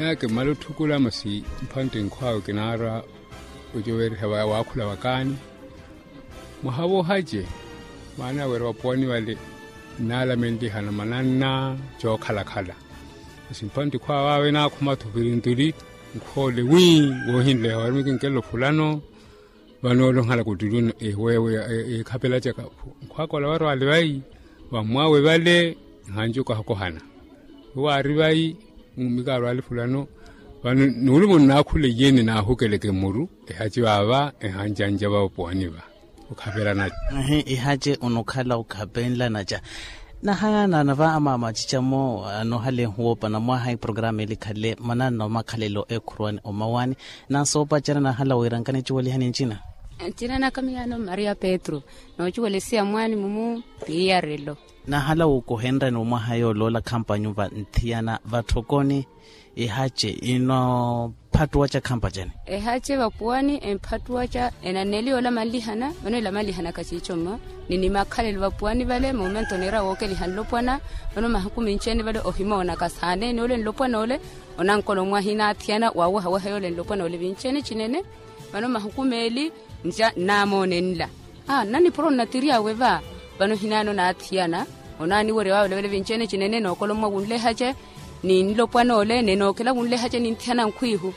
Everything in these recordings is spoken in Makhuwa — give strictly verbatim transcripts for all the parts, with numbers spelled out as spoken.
Kimmala otthukula masi mphantte nkhw'awe kinaarwa ocowereha waakhula wakaani. Mwaha woohace maana ya wira vapuwani vale nnaalamenlihana mananna cookhalakhala. Masi mphantte khw'awe awe naakhuma-tho virintuli nkhw'ole wi woohinleha wari mukinkelelo fulano. Vano ole onhala kuttuli ewewe eekhapelacaka nkhw'aka ola varwale vayi vammw'awe vale. Nhanci okaha okohana we waari vayi mummikarwale fulano. Vano nuulumo nnaakhula iyeni naahukeleke mmuru ehaci vaava ehancanca vapuwani va okhapelanaca. Ehe ihaci onokhala okhapenla naca. Nahayanana va amaama acicamo anohalehu woopana mwaha iporokaramu eli khale mananna omakhalelo ekhurwani omawani. Nansi oopacera nahala wira nkanicuwelihani ncina. Ncina naka miyaano maria petru. Noocuwelesiya mwaani mumu. Iyarelo. Nahala wuukohenrani omwaha yooloola khampa nyuva nthiyana vatthokoni. Ehace ino phattuwaca khampa cani? Ehace vapuwani emphattuwaca enaneli yoola manlihana vano ela manlihanaka ciico mma. Ni nimakhalelo vapuwani vale momento oniira wookeliha nlopwana. Vano mahuku minci-ene vale ohimoonaka saaneni ole nlopwana ole. Onankola omwaha inaathiyana waawehaweha yoole nlopwana ole vinci-ene cinene. Vano mahuku meeli nca nnaamoonenla. Aa nnanipuro nnatiryawe va. Vano hinaani onaathiyana onaaniwerya waavelavela vinci-ene cinene nookolommwa wunlehace. Ni nlopwana ole nenookela wunlehace ninthiyana nkhwiihu.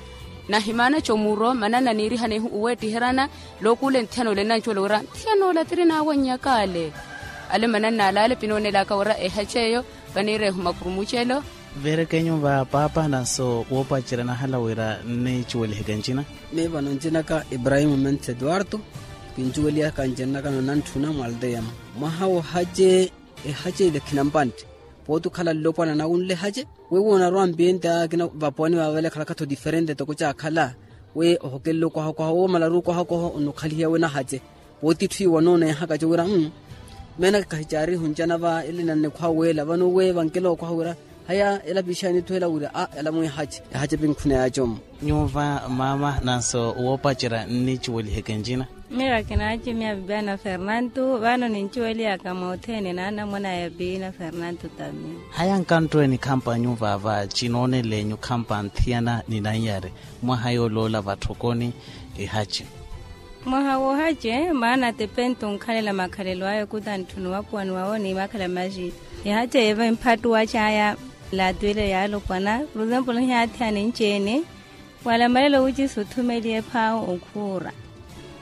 Nahimaana comuro mananna niirihanehu oweettiherana. Lookuula enthiyana ole nnancuwela wira nthiyana ole atiri naawannyaka ale. Ale mananna alaale pinoonelaka wira ehace eyo. Vaniireehu makurumucelo. Veerekenyu va paapa nanso woopacerya nahala wira nnicuweliheke ncina. Miyo vano ncinaka ibrahimu mentha eduardo. Kincuwelihaka ncinakano nantthuna mwalteya-mo. Mwaha woohace ehace ile khinampantte. Pooti okhala nlopwana nawunle ehace. Wewo onarwa mpinta akina vapuwani vaavale khalaka-tho diferente toko caakhala. We ohokelela okwaha okwaha woomalaru okwaha okwaha onokhalihiya we nahace. Pooti itthu iwo anoonehaka cowira mmm. Meenaka kahicaari ehuncanava ele nannikhwa weela vano we vankela okwaha wira haya ela piixaani etthu ela wira a ela mwiihace ehace pinkhuna yaacomu. Nyuva maama nanso woopacerya nnicuweliheke ncina. Miyo vakinaaci miyo abibiana fernanto vano nincuwelihaka moothene naanamona ya biina fernanto tamiyo. Haya nkanttweeni khampa nyuva va cinooneleenyu khampa nthiyana ni nannyari mwaha yooloola vatthokoni. Ehace. Mwaha woohace maana atepento onkhalela makhalelo aya okutantthuna owapuwani wawo ni makhala maci. Ehace yeeva emphattuwa caya. Laatwile yaalopwana por exemplo nhiyaathiyana enci-ene. Wala malelo wucisi othumeliye ephaawu okhuura.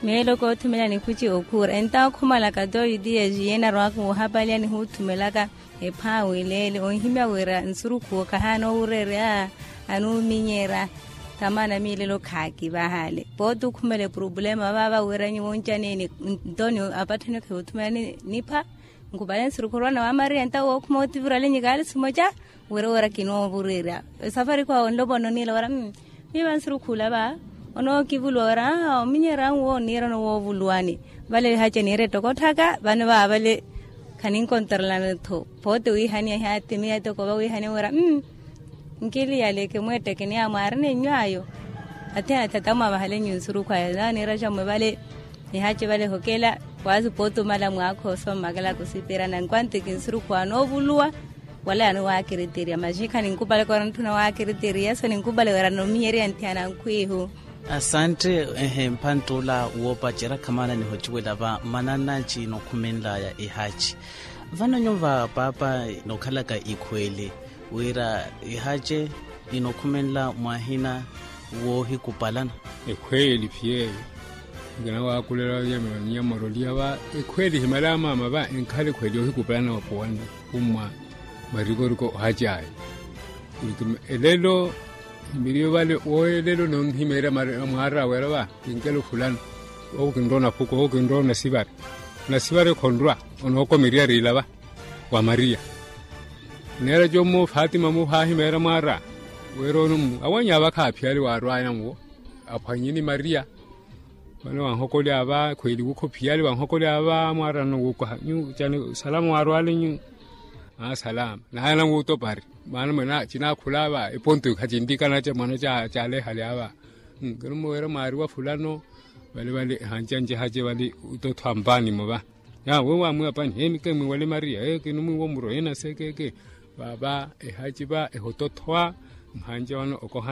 Meelo koothumela nikhuci okhuura entawo khumalaka toyutiya exiye enarwaka woohapaliya nihuuthumelaka. Ephaawu ileele onhimya wira nsurukhu owo khahaana owureerya. Anuuminyerya. Tamaana miilelo khaakivahale pooti okhumela epurupulema vaava wira nyuwo oncaneeni. Ntoni apatthani okhihuthumela nipha. Nkupale nsurukhu orwana wa maria ntawo wookhuma otivirale nyikaali simoca. Wira wira kinoovureerya esafari khwaawe onlopwana oniila wira. Miiva nsurukhu olava onookivuluwa wira ominyerya nwo oniirana woovuluwani. Vale ehace niire ettokotthaka vano vaavale. Khaninkontorelana-tho. Poote wiihaniya ehaati miya ettoko vawiihaniya wira. Nkiliyale kimweetteke ni amwaarina ennywayo. Athiyana thatamwa vahale nyunsurukhu aya naaniira cammwe vale. Nihace vale ehokela. Waasi poote omala mwaakha osoma makela kusipirana nkwanti kinsurukhu aya noovuluwa. Wala yano waakiriterya maxikha ninkupale kora ntthuna waakiriterya so ninkupale wira nominyerya nthiyana nkhwiihu. Asantte. Ehe mphantte ola woopacerya khamana nihocuwela va mananna cinokhumenlaya ihaci. Vano nyuva paapa nokhalaka ikhweeli wira ihace inokhumenla mwahina woohikupalana. Ekhweeli phi yeeyo. Nkinawaakulela nyamoroliya va ekhweeli himala amaama va enkhala ekhweeli yoohikupalana wapuwani. Ummwa marikoriko ohacaya. Elelo himiriyo vale woye elelo nonhimeerya mwaar'awe era va kinkelo fulano. Owo kinrowa onaphuko owo kinrowa onasivare. Onasivare khonrwa onookomerya riila va wa mariya. Oneera commo fatima muhaahimeerya mwaar'awe. Wira onomu awanyi ava khaaphiyali waarwaya namuwo. Aphwanye ni mariya. Vano wanhokolya va khweeli wukhophiyali wanhokolya va mwaarana wuukoha nyu cani salama waarwale nyu. Aa salama naayana wuutopari. Maana mwene cinaakhula va eponto khacintikana ca mwana caalehale ava. Nkirumo wira mwaariwa fulano. Vale vale ehancanci ehace vale. Utothwa mpaanimo va. Yaawe waamwiwa pani heemikemwi wale maria ekinumwiwa omuro enasekeeke. Vaava ehaci va ehotothwa. Mhanca vano okoha.